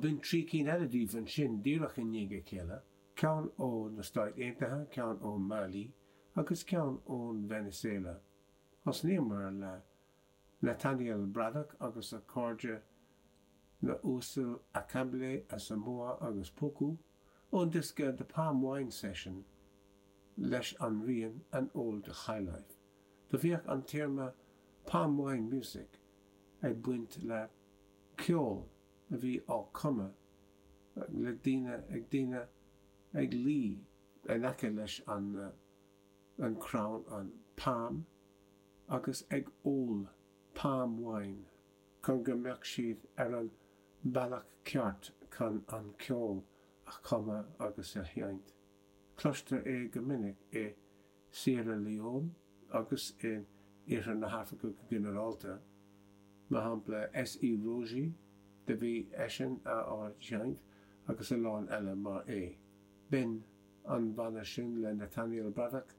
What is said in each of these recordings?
B'in 3 cinn eile daoibh ansin díreach i ndiaidh a chéile, ceann ó na Stáit Aontaithe, ceann ó Mali agus ceann ón Veiniséala. Thosnaíomar le Nathaniel Braddock agus a chairde na Uasail Akamble Asamoah agus Poku ón diosca The Palm Wine Session leis an rian An Old Highlife. Do bhíodh an téarma Palm Wine Music ag baint le ceol a bhí á chumadh le daoine ag daoine ag luí in aice leis an an crann an palm agus ag ól palm wine chun go mbeadh siad ar an bealach ceart chun an ceol a chumadh agus a sheinnt. Cloistear é go minic i Sierra Leone agus in Iarthar na hAfraice go ginearálta. Mar shampla S.E. Rogie, do bhí eisean á sheinnt agus a lán eile mar é. B'in an banna sin le Nathaniel Braddock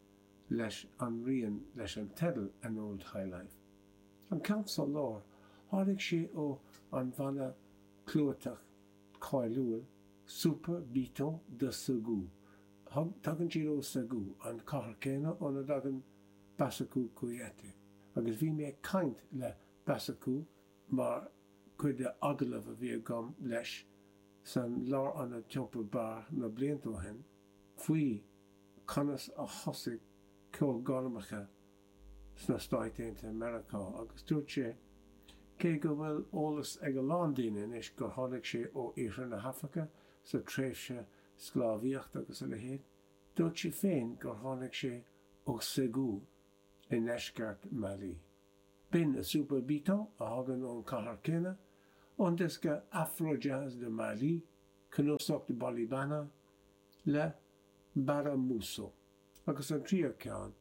leis an rian leis an teideal An Old Highlife. An ceann sa lár, tháinig sé ó an bhanna clúiteach cáiliúil Super Biton de Ségou. Tagann siad ó Ségou, an chathair céanna óna dtagann Bassekou Kouyate. Agus bhí mé ag caint le Bassekou mar chuid de agallamh a bhí agam leis san Lárionad Temple Bar na blianta ó shin faoi conas a thosaigh ceolghairmeacha sna Stáit Aontaithe Meiriceá agus dúirt sé cé go bhfuil eolas ag a lán daoine anois gur tháinig sé ó Iarthar na hAfraice sa tréimhse sclábhaíochta agus a leithéid, dúirt sé féin gur tháinig sé ó Ségou i ndeisceart Mali. B'in Super Biton a thagann ón chathair céanna, ón diosca Afro Jazz de Mali, cnuasach Bolibana, le Bara Mousso. Agus an tríú ceann,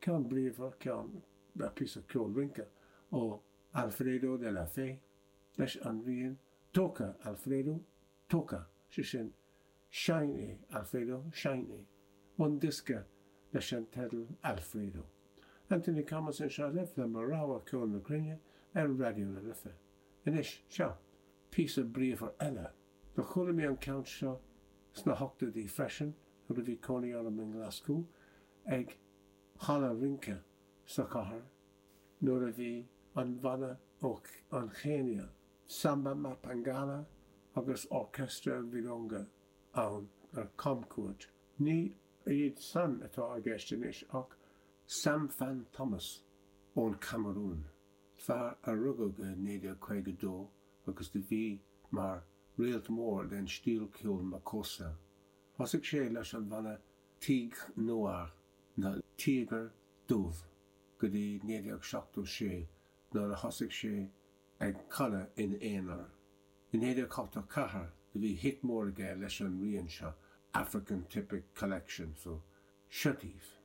ceann bríomhar, ceann, píosa ceol rince ó Alfredo de la Fe leis an rian Toca Alfredo, Toca, sé sin, seinn é, Alfredo, seinn é, ón diosca leis an teideal Alfredo. Anthony Thomas anseo libh le mo rogha ceol na cruinne ar Raidió na Life. Anois, seo, píosa bríomhar eile. Do chuala mé an ceann seo sna hochtóidí freisin nuair a bhí cónaí orm i nGlaschú ag halla rince sa chathair nuair a bhí an bhanna ó an Chéinia, Samba Mapangala agus Orchestra Virunga ann ar camchuairt. Ní iad san atá i gceist anois ach Samfan Thomas ón Chamarún, fear a rugadh i 1952 agus do bhí mar réalt mór den stíl ceoil Makossa. Thosaigh sé leis an bhanna Tigre Noir, na Tíogair Dubh, go dtí 1976 nuair a thosaigh sé ag canadh ina aonar. I 1984 do bhí hit mór aige leis an rian seo, African Typic Collection, so seo daoibh.